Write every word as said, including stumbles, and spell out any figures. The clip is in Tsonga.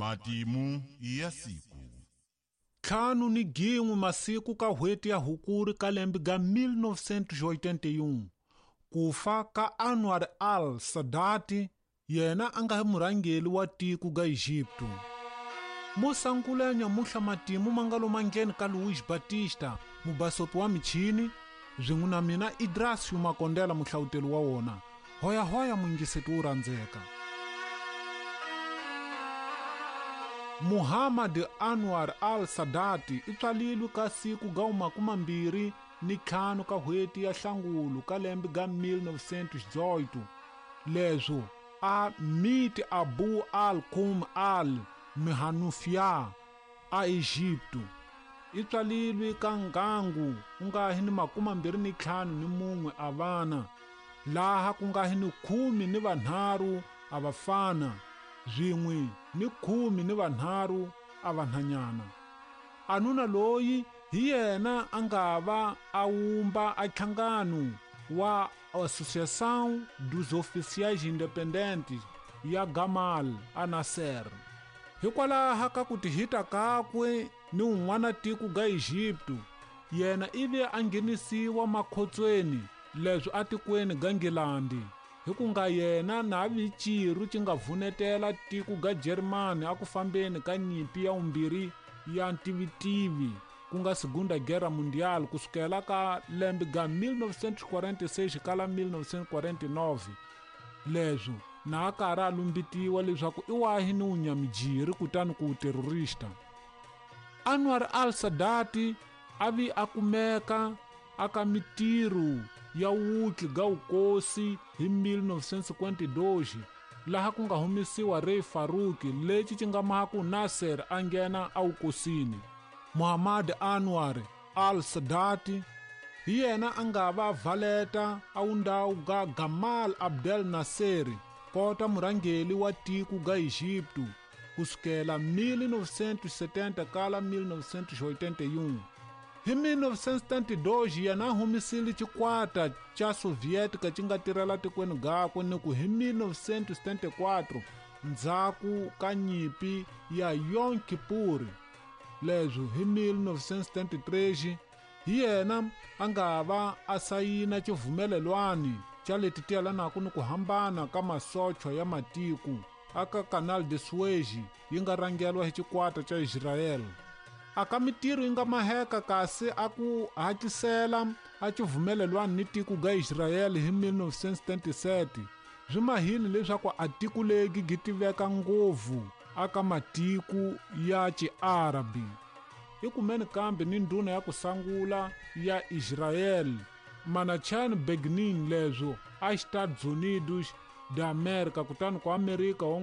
Matimu ya siku. Ntlhanu ni gin'we masiku ka n'hweti ya Hukuri ka lembe ga mil novecentos e oitenta e um ku fa ka Anwar al-Sadat, yena a nga murhangeri wa tiko ga Egipto. Mosangula nyamuhla matimu ma nga lo mangheni ka Luiz Batista, mubasopi wa michini, swin'we na mina Idrasio Makondela muhlawuteli wa wona. Hoya hoya muyingiseti wo rhandzeka. Muhammad Anwar al-Sadat i tswalilwe ka siku ga makumambirhi ni ntlhanu ka n'hweti ya Hlangulu ka lembe ga mil novecentos e dezoito. Leswo a miti Abu al-Kum al-Mihanufia a Egipto. I tswalilwe ka ngangu ku nga hi ni makumambirhi ni ntlhanu ni mun'we a vana, laha ku nga hi ni khume ni vanharhu a vafana, swin'we ni khume ni vanharhu a vanhanyana. Anuna loyi hi yena a nga va a wumba a nhlangano wa Associação dos Oficiais Independentes ya Gamal a Nasser. Hikwalaho ka ku tihita kakwe ni un'wana tiko ga Egipto, yena ivi a nghenisiwa makhotsweni leswi atikweni ga Nghilandhi, hi ku nga yena na vichiru ci nga vunetela tiko ga Germany a ku fambeni ka nyimpi ya vumbirhi ya ntivitivi, ku nga Segunda Guerra Mundial, kusukela ka lembe ga mil novecentos e quarenta e seis kala mil novecentos e quarenta e nove. Leswo na a karhi a lumbitiwa leswaku i wahi ni wunyamijiri kutani ku terrorista. Anwar al-Sadat a vi a kumeka aka mitirho ya wutli ga wukosi hi mil novecentos e cinquenta e dois, laha ku nga humesiwa Rey Farouk lexi ci nga maku Nasser a nghena awukosini. Muhammad Anwar al-Sadat hi yena a nga va valeta a wundawu ga Gamal Abdel Nasser kota murhangeri wa tiko ga Egipto kusukela mil novecentos e setenta kala mil novecentos e oitenta e um. Hi mil novecentos e setenta e dois yena a humisile xikwata xa Soviética xi nga tirhela tikweni gakwe ni ku hi mil novecentos e setenta e quatro ndzhaku ka nyimpi ya Yom Kippur. Leswo hi mil novecentos e setenta e três hi yena a nga va a sayina xivumelelwani xa leti ti yelanaka ni ku hambana ka masochwa ya matiko aka Canal de Suez yi nga rhangeriwa hi xikwata xa Israel. Aka mitirho yi nga maheka kasi a ku hatlisela a xivumelelwani ni tiko ga Israel hi mil novecentos e setenta e sete swi mahile leswaku a tiko legi gi tiveka ngopfu aka matiko ya Xiarabi. I kumeni kambe ni ndhuna ya ku sungula ya Israel Menachem Begin leswo a Estados Unidos da América, kutani ku Amerika wa